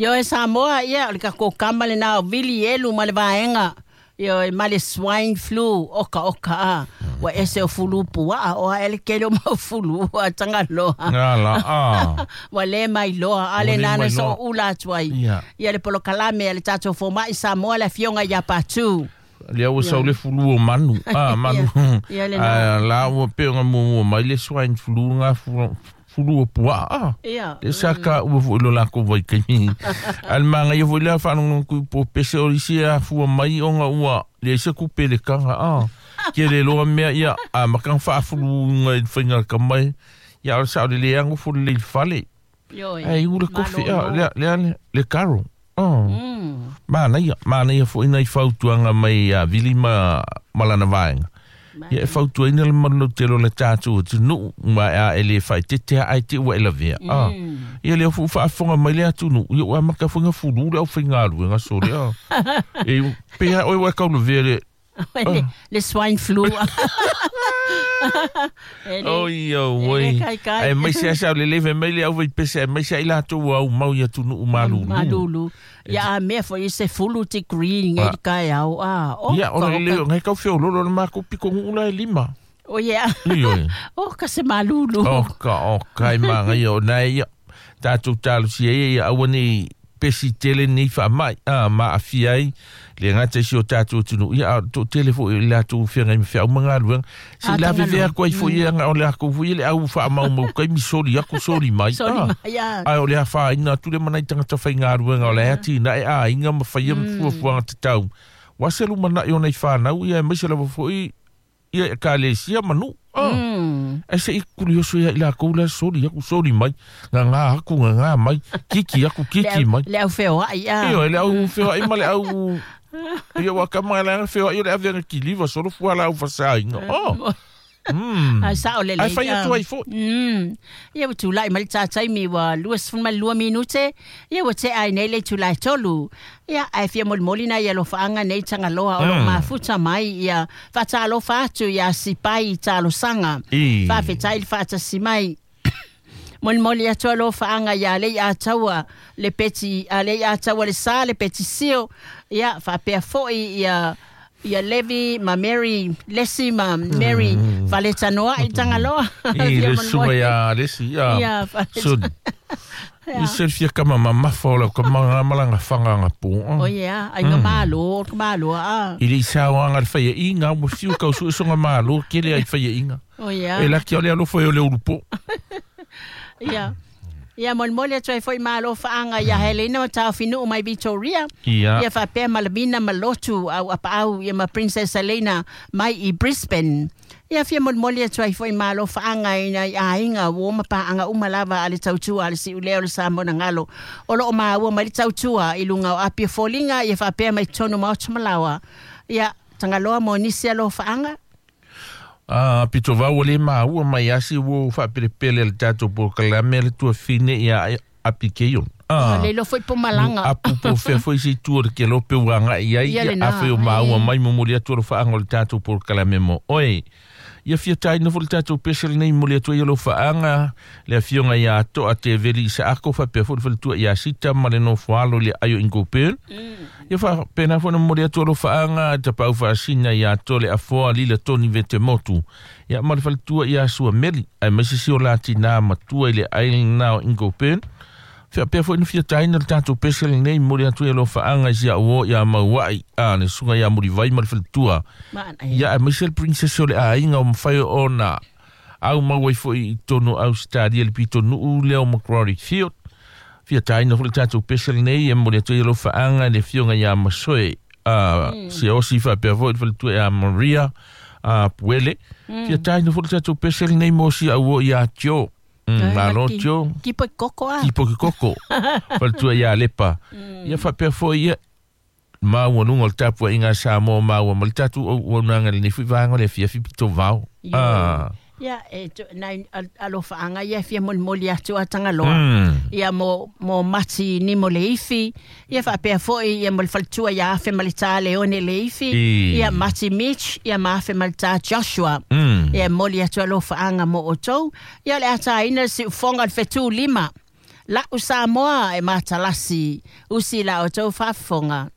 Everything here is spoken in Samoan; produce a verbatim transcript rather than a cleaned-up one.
Ioe Samoa, ia, o le tatou kama lenā o Vili Elu ma le vaega. Ioe, ma le swine flu, oka oka a. Ua ese o fulu pua'a, o a ele kele o mau fulu, a Tagaloa. Ala, a. Ua le mailoa, a Ua le le nana so mailoa. ula atu ai. Ia. Ia le polokalame a le tatou fomai Samoa le afioga ia Patu. Lea ua sau le fulu o manu. Ah, manu. Ia le na. Ah, la ua pe nga mua mai le swine flu nga fulu fulu o pua'a. Ah. Ia. Le sa ka ua fo ilo lako vai kaimi. Al manga ia foi lea whanongo kui po pese o isi a fua mai o nga ua le se kupe le kanga. Ah. Ke le loa mea ia a makang whaafulu nga i whainga ka mai. Ia o sa o le leango fo le fale. Ioe. Ai ule kofi Malo a le le le le karo. Oh. Mm. Manaia, manaia fo ina i fautuanga mai a Vili ma malana vaenga. Ia e fautuaina le malu tele o le tatou atunuu ma a e le faetetea ai te ua e lavea. Ah. Ia lea fu faafofoga mai le atunuu, ia ua amata faiga fulu le aufaigaluega sole. Ah. E pea oe ua kaulavea le Le, le swine flu. E le- Oi, oi, e oi. le kai kai. Ai mai se asa le leve mai le au vai pese mai se ila tu au mau ia tu nu malulu. Malulu. Ia a mea foi se fulu ti green Ah. e kai au. Ah, oh, Ia o ka- le le ngai kau feo lolo le mako piko ngula e lima. Oh yeah. Oi oi. Oh, ka se malulu. O ka o kai manga ia o nai ia. Tātou talosia ia ia aua nei pesi tele nei wha mai. Ah, ma awhia ai. Le ngata si o tātou tunu. Ia a tō tele fo i lātou whianga i mwhia umanga aluanga. Si Ah, la tanga vevea no. koe fo ia nga o le ako fo ia le au wha mau mau kai mi sori ako sori mai. Sori Ah. mai, ia. Ai o le awha ina tule manai tangata whai ngā ruenga o le ati na e a inga ma whaia mm. fuafuanga te tau. Waselu mana i o nei whanau ia e maise lava foi ia e ka lesia manu. Ah. Mm. Ai se i kuri oso ia i la kou la sori aku sori mai. Ngā ngā aku ngā ngā mai. Kiki aku kiki Le, mai. le au wheo ai, ah. Io le au whio ai ma le au... Ia waka mai le whio ai o le awhenga ki liwa solo fua la au whasa inga. Oh. Mm. Ai sao le le. Ai whai atu ai fo. Mm. Ia ua tulai mai le tātaimi ua lua sefulu ma le lua minute. Ia ua tea ai nei le itulā e tolu. Ia ae fia molimoli nai alofaʻaga nei Tagaloa o loo Mm. mafuta mai ia faatalofa atu iā Sipai i talosaga. I. Faafetai le faatasi mai. Molimoli atu alofaʻaga iā lei ataua le peti a lei ataua le sa le petisio. Ia faapea foʻi ia ia Levi ma Mary Lesi ma Mary mm. Faletanoaʻi Tagaloa. I Fia le sunga molimoli. ia lesi ia. Ia, fale- Sun. I se fia kama mamafa o lau kama ngā malanga whanga ngā pō. O ia, ai ngā malo, ka malo a. I le isaoaga le faia inga ua fiu kausuʻesoga mālō kele ai faia inga. O ia. E laki o le alofa e o le ulupo. Ia. Ia molimoli atu ai foi malo faʻaga ia Helena ma Taofinuu mai Victoria. Ia. Ia faapea ma Lamina ma Lotu au apaau ia ma Princess Helena mai i Brisbane. Ia fia molimoli atu ai foi malo faʻaga i nai aiga ua ma paʻaga uma lava a le tautua a le siʻulea o le Samoa na galo. O loo maua mai le tautua i luga o Apia foliga ia faapea mai totonu maota malaoa. Ia Tagaloa mo nisi alofaʻaga. Ah, pito vau o le maua mai asi ua faapelepele le tatou polokalame le tuafine ia apikeion. Ah. Le lo foi po malaga. Apu po fea foi se itu o le kelope ua agai ai Ia ia lena, afe o maua ai. mai momoli atu alofaʻaga o le tatou polokalame mo oe. Ia fia taina foi le tatou pese lenei momoli atu ai alofaʻaga le afioga iā Toa Teveli Isaako faapea foi le faletua iā Sita ma le nofoalo i le aio Ingopel. Ia faapena foi na momoli atu alofaʻaga tapaau faasina iā Tole Afoa Lila Toni Vetemotu. Ia ma le faletua iā Suameli ae maise si o latinā matua i le ai lena o Ingopel. Faapea foi na fia taina le tatou pese lenei momoli atu ai alofaʻaga i sia uo iā Mauaʻi a le suga iā Mulivai ma le faletua. Maana. Ia ae maise le princess o le aiga o mafai ona au mau ai foi i tonu Australia le pitonuu lea o Macquarie Field. Fia taina foi le tatou pese lenei e momoli atu ai alofaʻaga i le afioga iā Masoe a Siaosi faapea foi le faletua iā Maria a Puele. Fia taina foi le tatou pese lenei mo si auo iā Tio. Mm, Malo Tio Kipo i koko a. kipo ke koko faletua iā Lepa. Ia faapea foi ia maua luga o le tapuaʻiga a Samoa maua ma le tatou auaunaga lenei foi vaega o le afiafi pito vao. Ioe. Ah. Ia, e tu, nai al- alofaʻaga ia e fia molimoli atu a Tagaloa. Mm. Ia mo, mo Mati Nimo Leifi. Ia faapea foi ia mo le faletua ia Afe ma le tā Leone Leifi. I. Ia Mati Mitch, ia ma Afe ma le tā Joshua. Mm. Ia moli atu alofaʻaga mo outou. Ia o le ataina le siufoga o le fetū lima. La'u Samoa e matalasi, usi la outou faafofoga.